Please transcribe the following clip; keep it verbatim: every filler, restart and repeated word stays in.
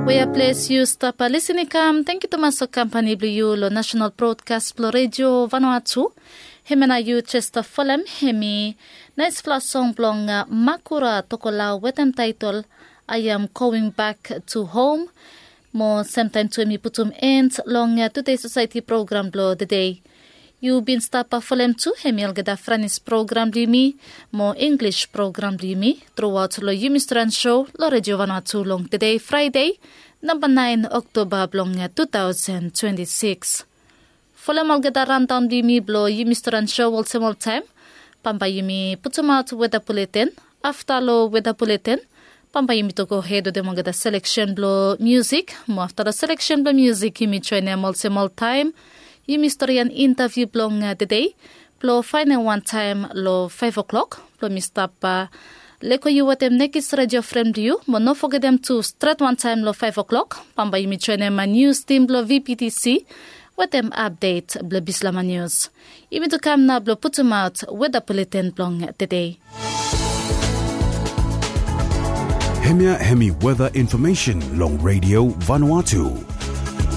Wea ples yu stap lisin i kam, tenkyu tumas long kampani blong yu long nasional brodkas blong redio Vanuatu. Hemia nao yu jes stap folem, hemi naesfala song blong Makura Tokolau wetem taetol I Am Going Back to Home. Mo semtaem tu hemi putum en long Tude Sosaeti program blong tede. Yu bin stap folem tu hemi olgeta Franis program blong yumi mo Inglis program blong yumi truaot long yumi storian so long redio Vanuatu long tede Fraede, namba naen Oktoba blong tu taosen twenti sikis. Folem olgeta randaon blong yumi blong yumi storian so olsem oltaem. Bambae yumi putumaot weta buleten. Afta long weta buleten, bambae yumi tu gohed wetem olgeta seleksen blong miusik. Mo afta long seleksen blong miusik yumi joenem olsem oltaem yumi storian intaviu blong tede. Blong faenem wantaem long faef o'klok blong mi stap leko yu wetem nekis redio fren blong yu. Mo no fogetem tu stret wantaem long faef o'klok bambae yumi joenem nius tim blong VPTC wetem apdet blong bislama nius. Yumi tu kam nao blong putumaot weta buleten blong tede. Hemia hemi weta infomesen long redio Vanuatu.